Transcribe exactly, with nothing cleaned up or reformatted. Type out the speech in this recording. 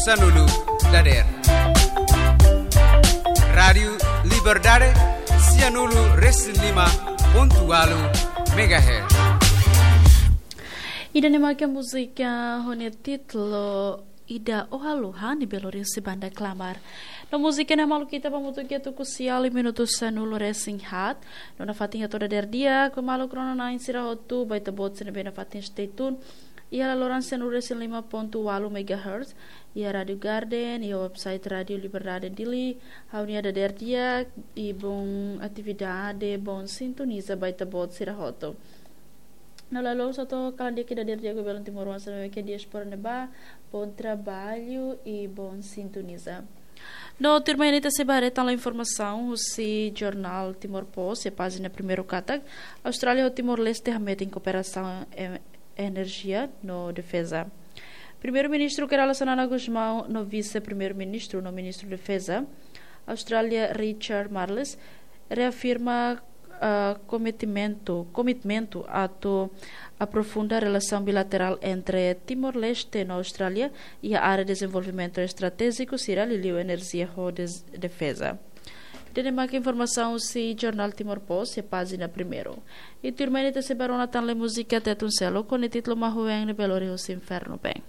Sanulu dader. Rádiu Liberdade, sianulu resin lima pontu walu megahertz. Ida-ne'e mak múzika ho nia títulu Ida Ohalu, hanesan Belo Horizonte banda Klamar. No múzika ne'e maluk ita ba mutu ke tuku sial minutu sanulu resin haat. No nafatin hato'o dader di'ak, maluk rona-na'in sira hotu, ba ita-boot sira ne'ebé nafatin stay tune iha laloran sanulu resin lima pontu walu megahertz, iha Rádiu Garden, iha website Rádiu Liberdade Dili, ha'u-nia dader di'ak, i boa atividade, boa sintoniza ba ita-boot sira hotu. No la'ós atu kalan di'ak ida dader di'ak ba belun timoroan sira ne'ebé iha diáspora ne'ebá, bom trabalho e bom sintoniza. No tuirmai ne'e ita sei ba haree tan informasaun husi jornál Timor Post, iha pájina primeiru katak, Austrália ho Timor-Leste hametin kooperasaun em-, enerjia no defeza. Primeiru-Ministru Kay Rala Xanana Gusmão no Vise-Primeiru-Ministru no Ministru Defeza Austrália Richard Marles reafirma, ah, kometimentu, komitmentu atu aprofunda relasaun bilaterál entre Timor-Leste no Austrália iha área dezenvolvimentu estratéjiku sira, liuliu enerjia ho des-, defeza. Ida-ne'e mak informasaun husi jornál Timor Post iha pájina primeiru. I tuirmai ne'e ita sei ba rona tan múzika Tetun Seluk ho nia títulu Mahuen ne'ebé lori husi Infernu Been.